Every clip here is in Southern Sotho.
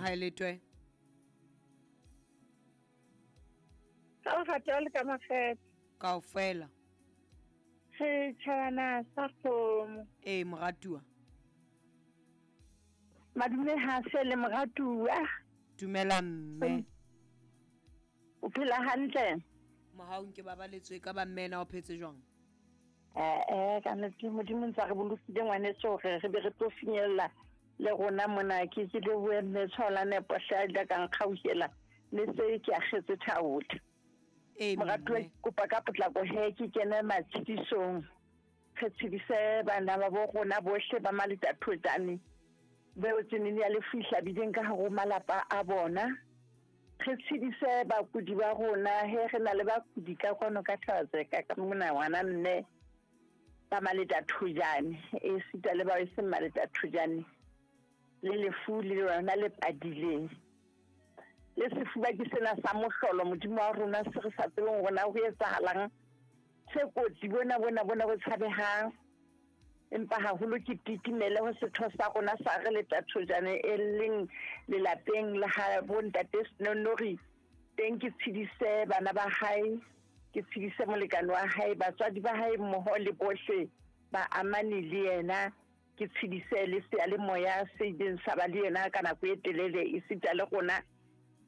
Haeletwe. Ka lerato le ka makgethe. Kaofela. Setšhabana sa kgomo. Ee, moratuwa. Madume hase le moratuwa. Dumela mme. O phela hantle? Mohaung ke babaletswe ka ba mme na o phetse jwang? Eh, ka nnete Modimo ntse a re bolokile ngwaneso hore re be re tlo finyella le rona mona. Ke ke lebohe mme Tshwaola Nepo hle a ile ka nkgauhela le se ke akgetse thaotha. Ee, Moratuwa mme. ke kopa ka potlako he ke kene matshedisong. Re tshedise bana ba bo rona bohle ba Maletathojane beo tsenene ya lefu e hlabileng ka hare ho malapa a bona. Re tshedise bakudi ba rona he re na le bakudi ka kwano ka Thabatseka ka mona ngwana mme ba Maletathojane e sita le bao e seng Maletathojane le lefu le lona le padileng. Le sefuba ke sena sa mohlolo Modimo wa rona se re sa tsebeng hore na ho etsahalang se kotsi bona bona bona bo tshabehang. Empa haholo ke titimele ho setho sa rona sa re Letathojane e leng lelapeng la ha bo ntate Senonori. Teng ke tshedise bana ba hae, ke tshedise molekane wa hae, batswadi ba hae mmoho le bohle ba amane le yena. Ke tshedise le seyalemoya se ileng sa ba le yena ka nako e telele esita le rona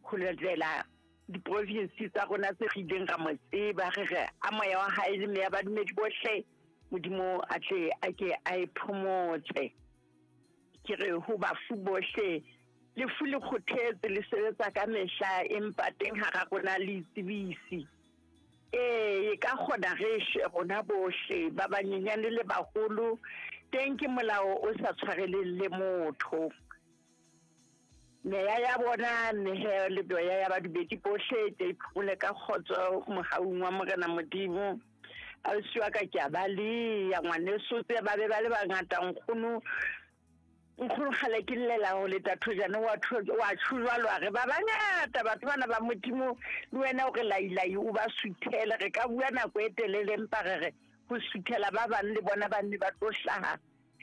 ho latela diprovinsi tsa rona tse re ileng ra mo tseba. Re re a moya wa hae le meya badumedi bohle Modimo a tle a ke a e phomotse. Ke re ho bafu bohle lefu le kgothetse le sebetsa ka mehla empa teng hara rona le itsebisi. Ee, e ka kgona re shwe rona bohle ba banyenyane le baholo. Teng ke molao o sa tshwareleng le motho. Meya ya bona mehe le meya ya badumedi bohle e tle e phomole ka kgotso mohaung wa Morena Modimo. Ausi wa ka ke a ba leya ngwaneso tse ba be ba le bangata nkgono. Nkgono kgale ke llela ho Letathojane wa tjho jwalo a re ba bangata batho bana ba Modimo le wena o re lailai o ba suthele. Re ka bua nako e telele empa re re ho suthela ba bang le bona ba nne ba tlo hlaha.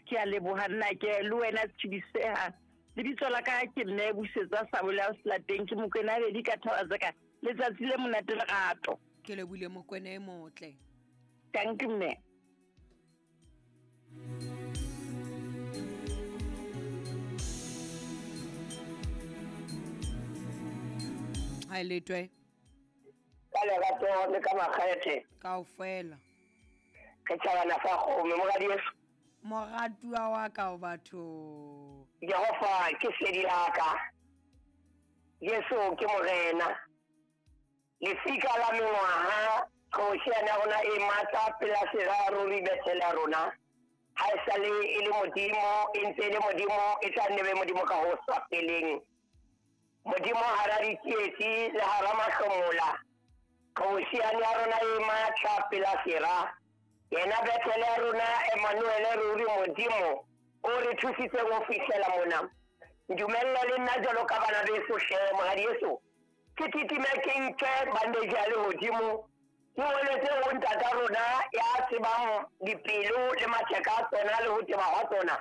Ke a leboha nna ke le wena tshediseha. Lebitso la ka ke mme Busetsa Sabole a Selateng ke Mokwena Bedi ka Thabatseka. Letsatsi le monate lerato. Ke lebohile Mokwena e motle. Thank you mme. Haeletwe. Ka lerato le ka makgethe. Kaofela. Re tjhabana fa kgome moradi Yesu. Moratuwa wa ka o batho. Jehova ke sedi la ka. Jesu ke morena. Lefika la mengwaha qhobosheane ya rona e matla pela sera ruri Bethele ya rona. Ha e sale e le Modimo, e ntse e le Modimo, e tla nne be Modimo ka ho sa feleng. Modimo hara ditsietsi le hara mahlomola. Qhobosheane ya rona e matla pela sera. Yena Bethele ya rona Emmanuel ruri Modimo o re thusitseng ho fihlela mona. Ntumelle le nna jwalo ka bana beso hle moradi Yesu. Ke titime ke nke bandage ya lehodimo. Ke weletse ho ntata rona ya tsebang dipelo le matheka a tsona le ho teba hwa tsona.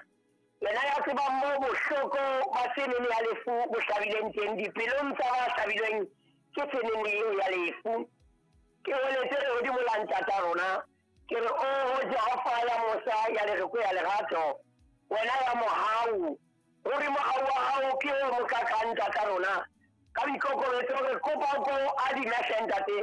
Yena ya tsebang moo bohloko ba tsenene ya lefu bo hlabileng teng dipelong tsa ba hlabilweng ke tsenene eo ya lefu. Ke weletse lehodimo la ntata rona. Ke re oho Jehova ya mosa ya lereko ya lerato, wena ya mohau, ruri mohau wa hao ke o mokakang ntata rona. Ka boikokobetso re kopa o ko adime hle ntate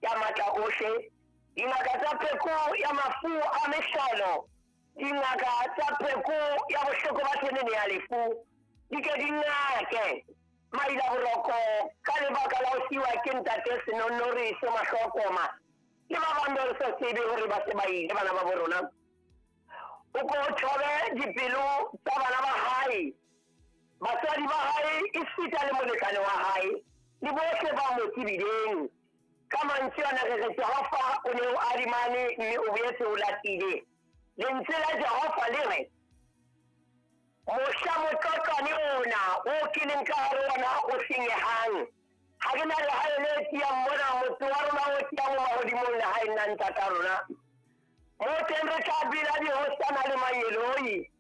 ya matla ohle, dingaka tsa pheko ya mafu a mehlolo, dingaka tsa pheko ya bohloko ba tsenene ya lefu, di ke di ngake maila boroko ka lebaka la ho siwa ke ntate Senonori se mahlokoma le ba bang ba re sa tsebe hore ba se ba ile bana ba bo rona. O ko thobe dipelo tsa bana ba hae, batswadi ba hae, esita le molekane wa hae le bohle ba mo tsebileng. Ka mantswe ana re re Jehova o ne o adimane mme o boetse o latile. Lentswe la Jehova le re mohla motlotlwane ona o ke leng ka hare ona o senyehang, ha re na lehae le tiyang mona, motse wa rona o tiyang o mahodimong lehaeng la ntata rona. Mo teng re tla bina dihosana le mangeloi.